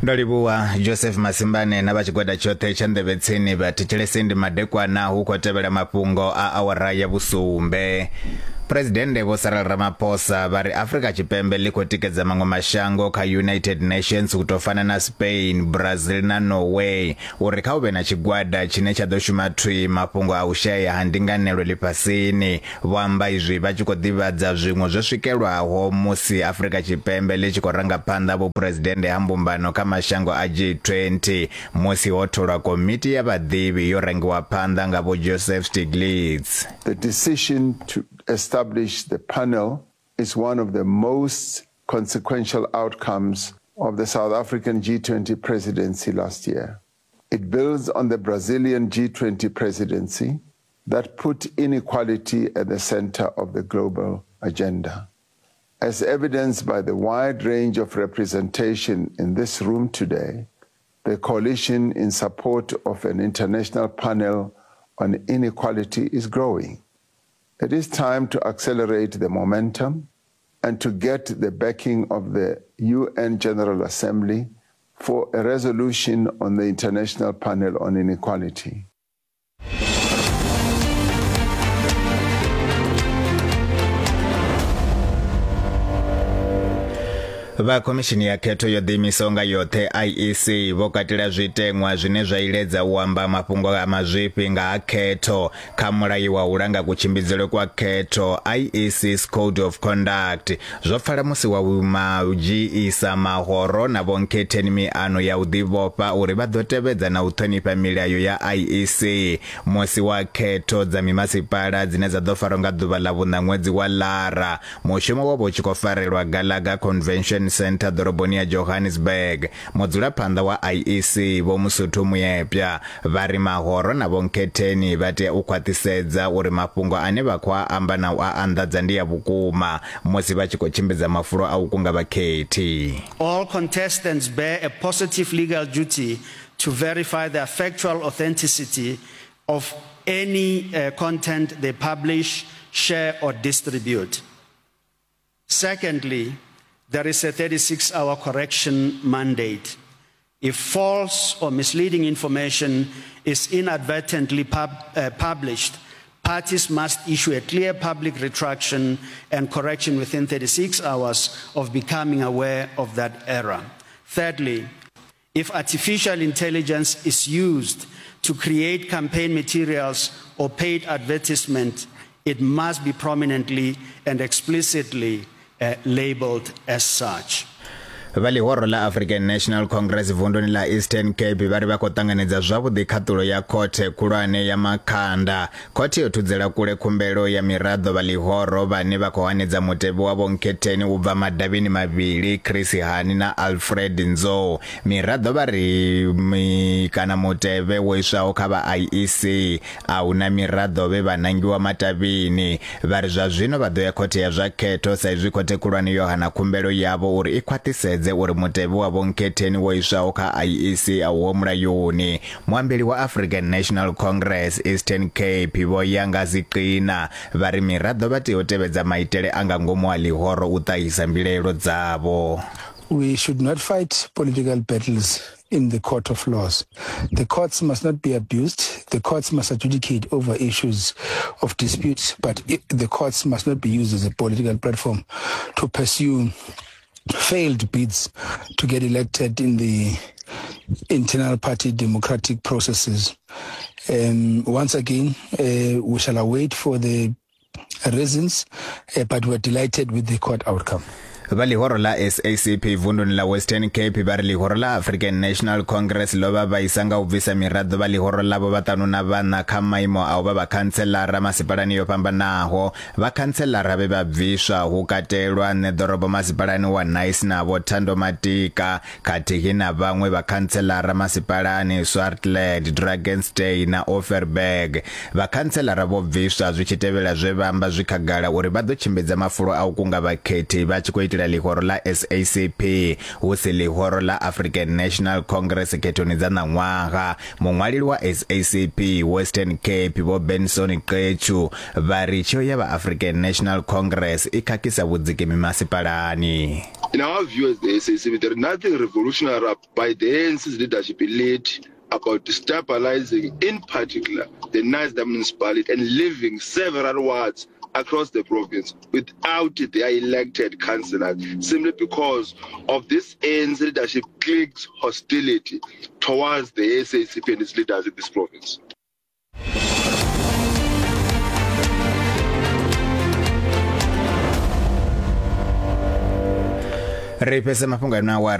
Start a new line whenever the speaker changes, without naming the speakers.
Ndo livhuwa Joseph Masimbane na vha tshigwada tshoṱhe tsha nḓevhe tsini. Vhathetshelesi ndi madekwana hu khou tevhela mafhungo a awara ya vhusumbe. Phresidennde Vho Cyril Ramaphosa vha ri Afrika Tshipembe ḽi khou tikedza maṅwe mashango kha United Nations u tou fana na Spain, Brazil na Norway uri kha hu vhe na tshigwada tshine tsha ḓo shuma thwii mafhungo a u shaea ha ndinganelo ḽifhasini. Vho amba izwi vha tshi khou ḓivhadza zwiṅwe zwo swikelwaho musi Afrika Tshipembe ḽi tshi khou ranga phanḓa vhuphuresidennde ha mbumbano kha mashango a G20 musi ho tholwa komiti ya vhaḓivhi yo rangiwa phanḓa nga Vho Joseph Stiglitz.
The decision to establish the panel is one of the most consequential outcomes of the South African G20 presidency last year. It builds on the Brazilian G20 presidency that put inequality at the center of the global agenda. As evidenced by the wide range of representation in this room today, the coalition in support of an international panel on inequality is growing. It is time to accelerate the momentum and to get the backing of the UN General Assembly for a resolution on the International Panel on Inequality.
Vha khomishini ya khetho yo ḓiimisaho nga yoṱhe IEC vho katela zwiteṅwa zwine zwa iledza u amba mafhungo a mazwifhi nga ha khetho kha mulayo wa u langa kutshimbidzelwe kwa khetho IEC's Code of Conduct. Zwo pfala musi wa madzhiisa mahoro na vhonkhetheni miano ya u ḓivhofha uri vha ḓo tevhedza na u ṱhonifha milayo ya IEC musi wa khetho dza mimasipala dzine dza ḓo farwa nga ḓuvha ḽa vhuṋa ṅwedzi wa Lara. Mushumo wo vha u tshi khou farelwa Gallagher Convention Centre ḓoroboni ya Johannesburg. Mudzulaphanḓa wa IEC Vho Mosotho Moepya vha ri mahoro na vhonkhetheni vha tea u khwaṱhisedza uri mafhungo ane vha khou a amba na u a anḓadza ndi a vhukuma musi vha tshi khou tshimbidza mafulo a u kunga vhakhethi.
All contestants bear a positive legal duty to verify the factual authenticity of any uh, content they publish, share, or distribute. Secondly, there is a 36 hour correction mandate. If false or misleading information is inadvertently pub, uh, published, parties must issue a clear public retraction and correction within 36 hours of becoming aware of that error. Thirdly, if artificial intelligence is used to create campaign materials or paid advertisement, it must be prominently and explicitly uh, labeled as such.
Vha ḽihoro ḽa African National Congress vunduni ḽa Eastern Cape vha ri vha khou ṱanganedza zwavhuḓi khaṱulo ya khothe khulwane ya Makhanda. Khothe yo thudzela kule khumbelo ya miraḓo vha ḽihoro vhane vha khou hanedza mutevhe wa Vho Nkhetheni u bva madavhini mavhili Chris Hani na Alfred Nzo. Miraḓo vha ri kana mutevhe wo iswaho kha vha IEC A hu na miraḓo vhe vha nangiwa matavhini. Vha ri zwa zwino vha ḓo ya khothe ya zwa khetho sa izwi khothe khulwane yo hana khumbelo yavho uri i khwaṱhisedze uri mutevhe wa Vho Nkhetheni wo iswaho kha IEC a uho mulayoni. Muambeli wa African National Congress Eastern Cape Vho Yanga Ziqina vha ri miraḓo vha tea u tevhedza maitele a nga ngomu ha ḽihoro u ṱahisa mbilaelo dzavho.
We should not fight political battles in the court of laws. The courts must not be abused. The courts must adjudicate over issues of disputes, but it, the courts must not be used as a political platform to pursue failed bids to get elected in the internal party democratic processes. Um, once again, uh, we shall await for the reasons, uh, but we're delighted with the court outcome.
Vha ḽihoro ḽa SACP vunduni ḽa Western Cape vha ri ḽihoro ḽa African National Congress ḽo vha vhaisa nga u bvisa miraḓo vha ḽihoro ḽavho vhaṱanu na vhaṋa kha maimo a u vha vhakhantselara masipalani yo fhambanaho. Vhakhantselara vhe vha bviswa hu katelwa ṋeḓorobo masipalani wa Knysna Vho Thando Matika khathihi na vhaṅwe vhakhantselara masipalani Swartland, Drakenstein na Overberg. Vhakhantselara vho bviswa zwi tshi tevhela zwe vha amba zwi khagala uri vha ḓo tshimbidza mafulo a u kunga vhakhethi vha tshi khou itela ḽihoro ḽa SACP hu si ḽihoro ḽa African National Congress khethoni dza ṋaṅwaha. Muṅwaleli wa SACP Western Cape Vho Benson Qetshu vha ri tsheo ya vha African National Congress i khakhisa vhudziki mimasipalani.
In our view as the SACP, there is nothing revolutionary by the ANC's leadership elite about destabilizing, in particular, the Knysna municipality and leaving several wards across the province without their elected councillors, simply because of this ANC leadership clique's hostility towards the SACP and its leaders in this province.
Ri fhese mafhungo a awara.